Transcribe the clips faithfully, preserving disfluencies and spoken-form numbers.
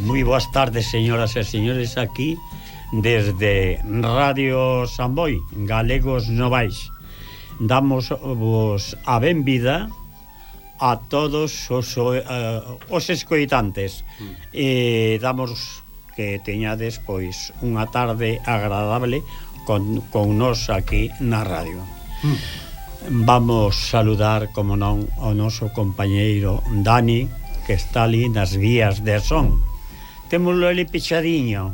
Moi boas tardes, señoras e señores, aquí desde Radio Samboy, Galegos Novais. Damos vos a benvida a todos os, uh, os escoitantes mm. e damos que teñades pois unha tarde agradable con, con nos aquí na radio. mm. Vamos saludar, como non, o noso compañeiro Dani, que está ali nas vías de son. Témolo ali pichadiño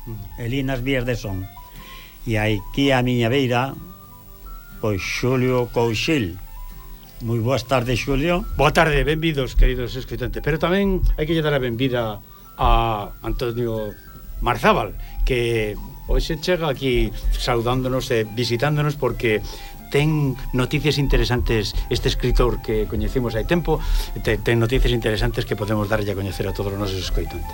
mm. ali nas vías de son. E aquí a miña beira pois Xulio Couchil. Moi boas tardes, Xulio. Boa tarde, benvidos, queridos escoitantes. Pero tamén hai que lle dar a benvida a Antonio Marzábal, que hoxe chega aquí saudándonos e visitándonos porque ten noticias interesantes. Este escritor que coñecimos hai tempo ten, ten noticias interesantes que podemos darlle a coñecer a todos os nosos escoitantes.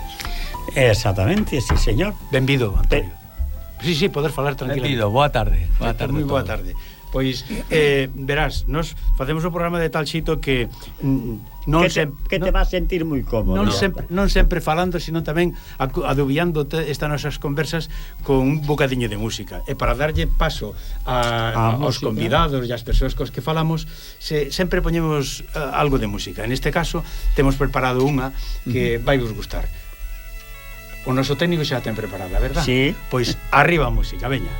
Exactamente, sí, señor. Benvido, Antonio. Pe... Sí, sí, poder falar tranquilamente. Benvido, boa tarde. Boa tarde. Moi boa tarde. Pois, eh, verás, nos facemos o programa de tal xito que mm, non que te, sempre, que te non, vas sentir moi cómodo. Non no? sempre, non sempre falando, sino tamén adubiando estas nosas conversas con un bocadiño de música. E para darlle paso a, a, aos música. Convidados e as persoas cos que falamos, se, sempre poñemos uh, algo de música. En este caso, temos preparado unha que uh -huh. vai vos gustar. O noso técnico xa ten preparada, verdad? Sí. Pois arriba a música, veña.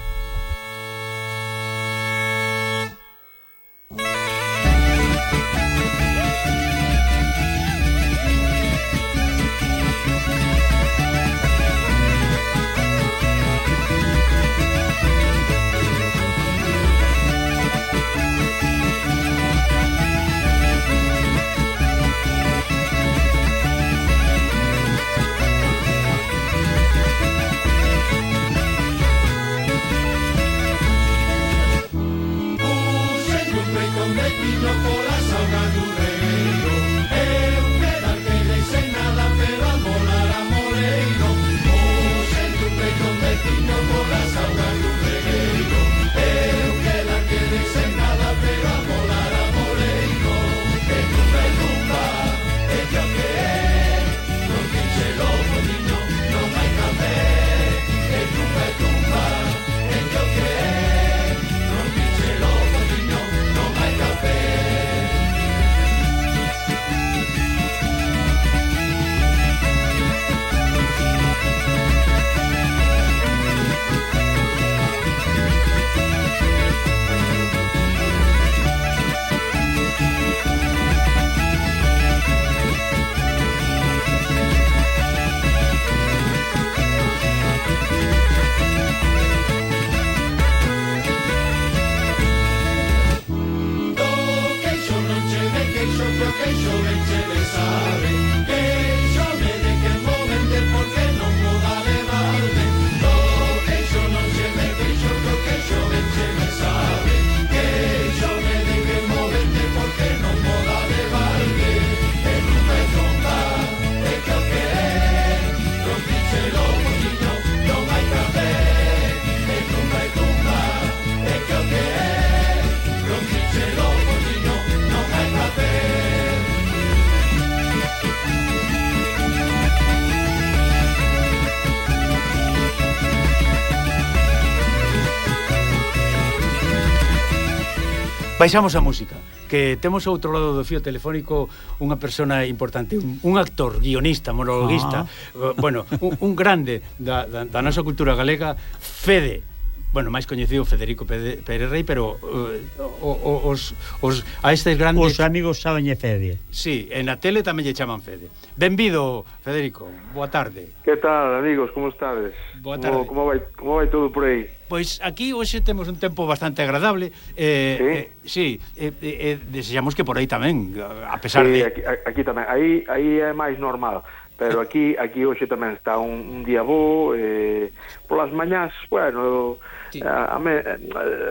Baixamos a música, que temos ao outro lado do fío telefónico unha persona importante, un, un actor, guionista, monologuista, ah. bueno, un, un grande da, da, da nosa cultura galega, Fede, bueno, máis coñecido Federico Pérez Rey, pero uh, os, os, a estes grandes... Os amigos sabenlle Fede. Sí, en a tele tamén lle chaman Fede. Benvido, Federico, boa tarde. Que tal, amigos, como estades? Boa tarde. Como, como, vai, como vai todo por aí? Pois aquí hoxe temos un tempo bastante agradable. Eh, sí? Eh, sí, eh, eh, desexamos que por aí tamén, a pesar sí, de... aquí, aquí tamén, aí, aí é máis normal. Pero aquí aquí hoxe tamén está un, un día bo, eh, polas mañás, bueno, sí. a, a me,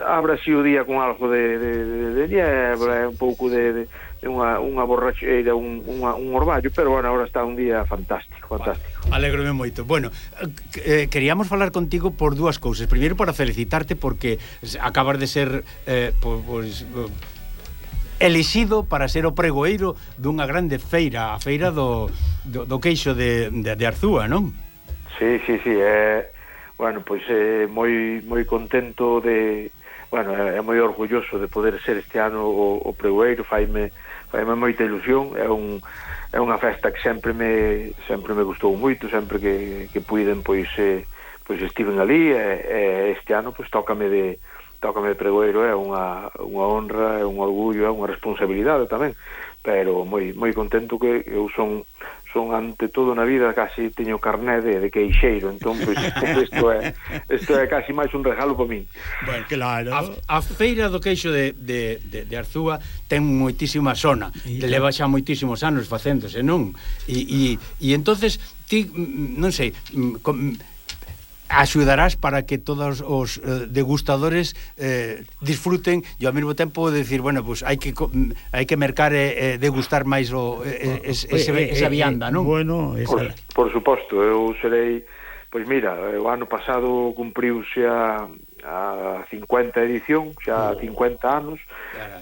abre así o día con algo de, de, de, de niebla, sí. Un pouco de, de, de unha, unha borracheira, un, unha, un orballo, pero bueno, agora está un día fantástico, fantástico. Vale, alégrome moito. Bueno, eh, queríamos falar contigo por dúas cousas. Primeiro, para felicitarte porque acabas de ser eh, pois... Pues, elixido para ser o pregoeiro dunha grande feira, a feira do, do, do queixo de, de, de Arzúa, non? Sí, sí, sí, é, bueno, pois é moi moi contento de, bueno, é, é moi orgulloso de poder ser este ano o, o pregoeiro, faime faime moita ilusión, é un é unha festa que sempre me sempre me gustou moito, sempre que, que puiden pois eh, pois estiven ali e, e este ano pois tócame de tócame de pregoeiro, é unha unha honra, é un orgullo, é unha responsabilidade tamén, pero moi moi contento que eu son son ante todo na vida casi teño carné de, de queixeiro, entón pois isto é isto é casi máis un regalo para min. Bueno, claro. A, a feira do queixo de, de, de, de Arzúa ten moitísima sona, que leva xa moitísimos anos facéndose, non? E, e, e entonces ti, non sei, com, axudarás para que todos os eh, degustadores eh, disfruten e ao mesmo tempo decir, bueno, pues hai que hai que mercar e eh, degustar máis o eh, es, ese, esa vianda, non? Bueno, esa... por, por suposto, eu serei, pois mira, o ano pasado cumpriuse a a cincuenta edición, xa oh. cincuenta anos.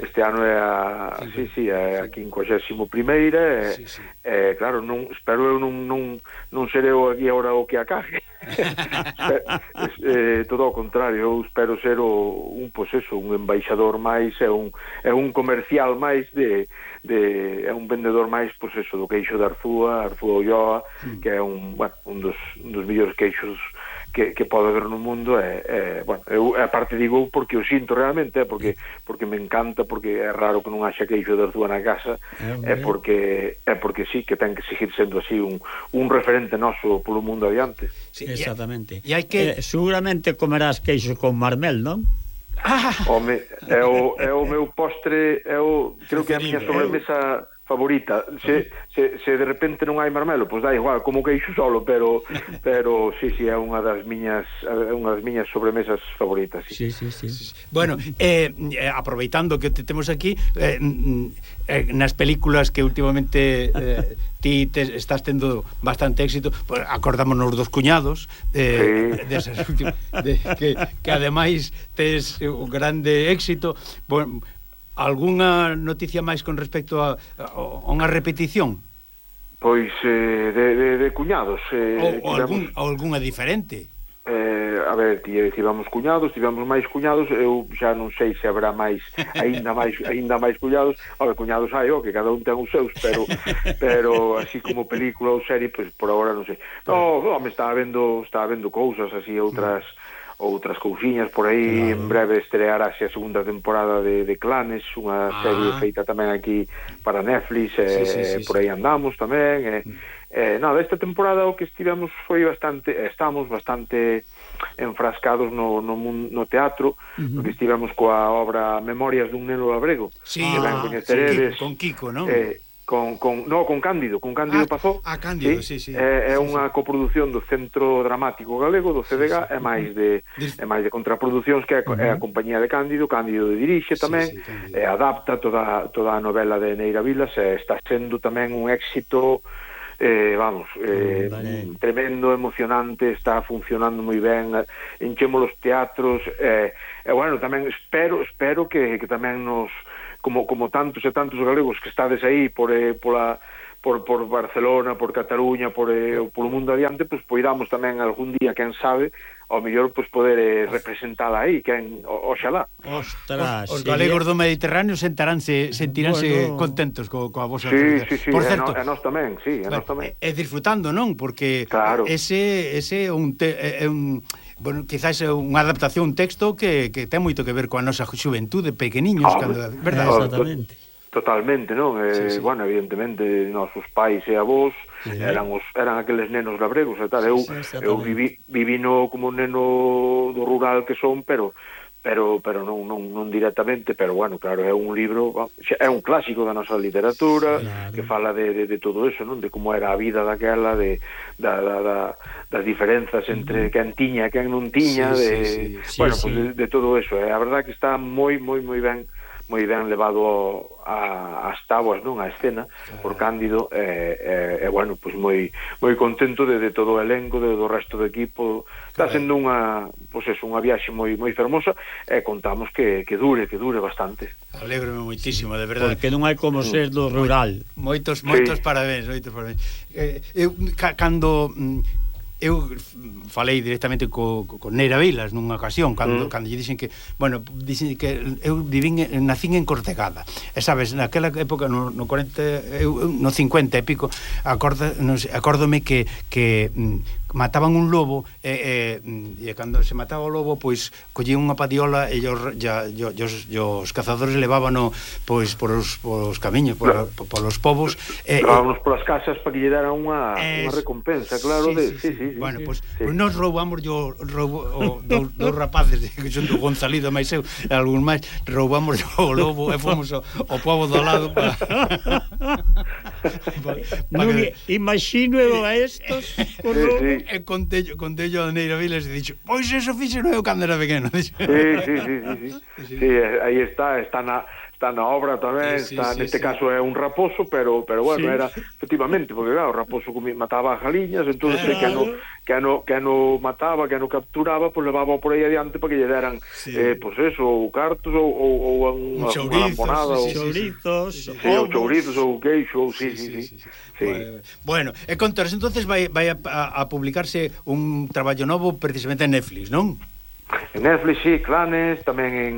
Este ano é a sí, sí, é a quincuagésima primeira e, sí, sí. E claro, non espero eu non non non serei aquí agora o que acaje. eh, todo ao contrario, eu espero ser o un pois eso, un embaixador máis, é un é un comercial máis de de é un vendedor máis pois eso do queixo de Arzúa, Arzúa Ulloa, mm. que é un, bueno, un dos un dos mellores queixos que, que pode haber no mundo é, é bueno, eu aparte digo porque o sinto realmente, é porque porque me encanta, porque é raro que non haxa queixo de Arzúa na casa, é, é porque é porque sí que ten que seguir sendo así un un referente noso polo mundo adiante. Sí, exactamente. E hai que eh, seguramente comerás queixo con marmel, non? Ah. Home, é o, é o meu postre, é o, creo que é a miña sobremesa favorita. Se, se, se de repente non hai marmelo, pois dá igual, como queixo solo, pero pero sí, sí, é unha das miñas é unha das miñas sobremesas favoritas, sí. Sí, sí, sí. Bueno, eh, aproveitando que te temos aquí, eh, eh, nas películas que últimamente eh, ti te estás tendo bastante éxito, pues, acordámonos dos cuñados, eh, sí. desas últimas, de, que, que ademais tes un grande éxito. Bueno, algunha noticia máis con respecto a, a unha repetición? Pois eh, de, de, de cuñados eh, ou, ou, algún, ou algunha diferente? Eh, a ver, tivemos cuñados, tivemos máis cuñados, eu xa non sei se habrá máis, aínda máis, aínda máis cuñados. A ver, cuñados hai, oh, que cada un ten os seus, pero pero así como película ou serie, pois por agora non sei. No, no, me estaba vendo, estaba vendo cousas así, outras outras cousiñas por aí, claro. En breve estrearase a segunda temporada de, de Clanes, unha ah. serie feita tamén aquí para Netflix, e sí, sí, sí, por aí andamos tamén, e mm. Eh, nada, esta temporada o que estivemos foi bastante, estamos bastante enfrascados no, no, no teatro, uh-huh. porque estivemos coa obra Memorias dun neno labrego, sí, que ben coñeceredes, sí, con Kiko, non? Eh, con, con, no, con Cándido, con Cándido ah, Pazó. Ah, Cándido, sí, sí. sí. É, é sí, unha sí. coproducción do Centro Dramático Galego, do C D G, sí, sí. é máis de é máis de contraproducións, que é, uh-huh. é a compañía de Cándido, Cándido de dirixe tamén, sí, sí, e adapta toda, toda a novela de Neira Vilas, e está sendo tamén un éxito. Eh, vamos, eh, vale. Tremendo, emocionante, está funcionando moi ben, enchemos os teatros, e eh, eh, bueno, tamén espero espero que, que tamén nos, como, como tantos e tantos galegos que estades aí por, eh, pola, por, por Barcelona, por Cataluña, por, eh, por o mundo adiante, pues poidamos tamén algún día, quen sabe, ao mellor pues, poder eh, representala aí, quen, oxalá. Ostras, os, os galegos do Mediterráneo sentaránse, sentiránse bueno. contentos co, coa vosa sí, sí, sí, por e certo, no, e nós tamén, sí, e nós tamén. É disfrutando, non? Porque claro. ese ese é un te, é un bueno, quizás é unha adaptación, un texto que, que ten moito que ver coa nosa xuventude, pequeniños, oh, cando, verdade? Oh, exactamente. Totalmente, non? Eh, sí, sí. Bueno, evidentemente, nosos pais e avós sí. eran os eran aqueles nenos labregos e tal. Eu, sí, eu vivi, vivi no, como un neno do rural que son, pero pero pero non, non, non directamente, pero bueno, claro, é un libro, é un clásico da nosa literatura, claro. Que fala de, de, de todo eso, non? De como era a vida daquela, de da, da, da, das diferenzas entre quen tiña e quen non tiña, sí, de, sí, sí. bueno, sí, pues sí. De, de todo eso, é a verdade que está moi, moi, moi ben moi ben levado a, as táboas, non, a escena por Cándido e, e, e bueno, pois moi moi contento de, de todo o elenco, de, do resto do equipo. Está sendo unha, pois eso, unha viaxe moi moi fermosa e contamos que, que dure, que dure bastante. Alégrome moitísimo, de verdade. Porque non hai como ser do rural. Moitos, moitos Sí. parabéns, moitos parabéns. Eh, eu, ca, cando... mm, eu falei directamente co, co, con Neira Vilas nunha ocasión cando, mm. cando lle dixen que, bueno, dixen que eu vivín, nacín en Cortegada e sabes, naquela época no, no cuarenta, eu, no cincuenta e pico acorda, non sei, acórdome que, que mm, mataban un lobo e, e, e cando se mataba o lobo pois collían unha padiola e os, ya, yo, os, os cazadores levábano pois por os, por os camiños por, claro. por, por os povos e, levábanos polas casas para que lle deran unha, es, unha recompensa, claro, sí, de, sí, sí, sí, sí, sí, bueno, sí, pois sí. pues, nos roubamos yo roubo, o, do, dos rapaces que son do Gonzalido máis eu e algún máis roubamos o lobo e fomos ao, ao pobo do lado para pa, pa que... imagino eu a estos con sí, sí. E contello, contello a Neira Vilas e dixo, pois eso fixe non eu cando era pequeno. Sí, sí, sí, sí, sí. sí. Sí, aí está, está na está na obra tamén, sí, sí, está, sí, neste sí. caso é un raposo, pero pero bueno, sí. era efectivamente, porque claro, o raposo mataba as galiñas, entonces claro. que no que no que no mataba, que no capturaba, pues levaba por aí adiante para que lle deran sí. eh pues eso, ou cartos ou ou, ou un, unha lamponada, ou chourizos, sí, ou chourizos ou queixo, sí, sí, sí. sí, sí. sí. sí. Bueno, e contaros, entonces vai vai a, a, a publicarse un traballo novo precisamente en Netflix, non? En Netflix, sí, Clanes, tamén en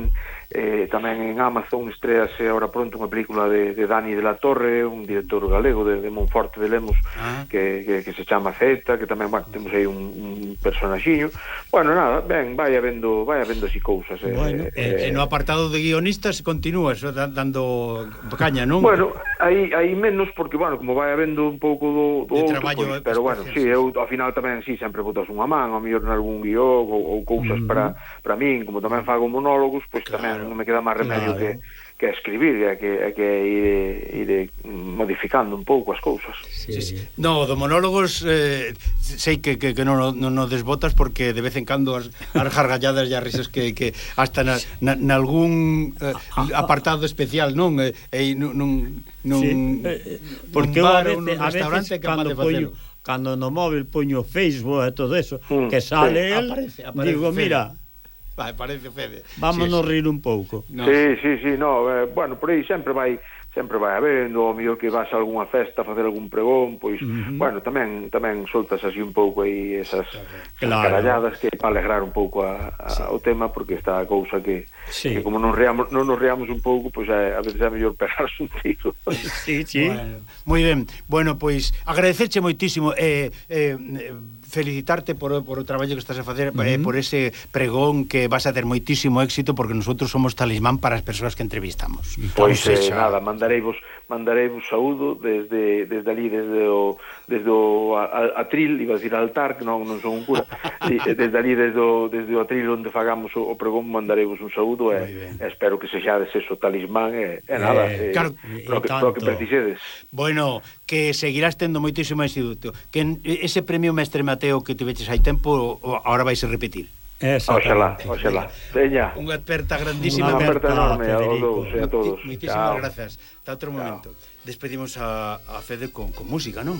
eh, tamén en Amazon estrease ahora pronto unha película de, de Dani de la Torre, un director galego de, de Monforte de Lemos, ah. que, que, que se chama Zeta, que tamén, bueno, temos aí un, un personaxiño. Bueno, nada, ben, vai habendo vai habendo así cousas. Bueno, eh, eh, e no apartado de guionistas continúas dando caña, non? Bueno, aí aí menos porque, bueno, como vai habendo un pouco do, do outro, pues, pero bueno, sí, eu ao final tamén sí, sempre botas unha man, ao mellor nalgún guión ou, ou cousas uh -huh. para para min, como tamén fago monólogos, pois pues, claro. tamén non me queda máis remedio claro. que que escribir, e que, que ir, ir modificando un pouco as cousas. Sí, sí. No, do monólogos eh, sei que, que, que non, non, non desbotas porque de vez en cando as, as gargalladas e as risas que, que hasta na, na, na algún eh, apartado especial, non? E eh, non, non, non sí. eh, porque un bar, a veces, un restaurante a veces, cando poño, cando no móvil poño Facebook e todo eso, mm, que sale sí. el, aparece, aparece digo, Fede. Mira, vai, parece Fede. Vámonos sí, rir un pouco. No. Sí, sí, sí, no, eh, bueno, por aí sempre vai sempre vai habendo, o mellor que vas a algunha festa a facer algún pregón, pois, uh -huh. bueno, tamén tamén soltas así un pouco aí esas, claro. esas caralladas que para alegrar un pouco a, a, sí. o tema, porque está a cousa que, sí. que como non reamos, non nos reamos un pouco, pois é, a veces é mellor pegarse un tiro. Sí, sí. Bueno, moi ben. Bueno, pois agradecerche moitísimo e eh, eh, felicitarte por, por o traballo que estás a facer, uh -huh. eh, por ese pregón que vas a ter moitísimo éxito, porque nosotros somos talismán para as persoas que entrevistamos. Pois eh, nada, mandareivos mandareivos saúdo desde desde ali, desde o desde o a, a, atril, iba a decir altar, que non, non son un cura, sí, desde ali, desde o, desde o atril onde fagamos o, o pregón, mandareivos un saúdo e, e espero que sexades eso talismán e, e nada, eh, claro, pro que, pro que precisedes. Bueno, que seguirás tendo moitísimo éxito, que ese premio Mestre Mateo que tiveches hai tempo agora vais a repetir. Oxalá, oxalá. Veña. Unha aperta grandísima. Unha aperta enorme a todos e a todos. Moitísimas grazas. Hasta outro momento. Despedimos a, a Fede con, con música, non?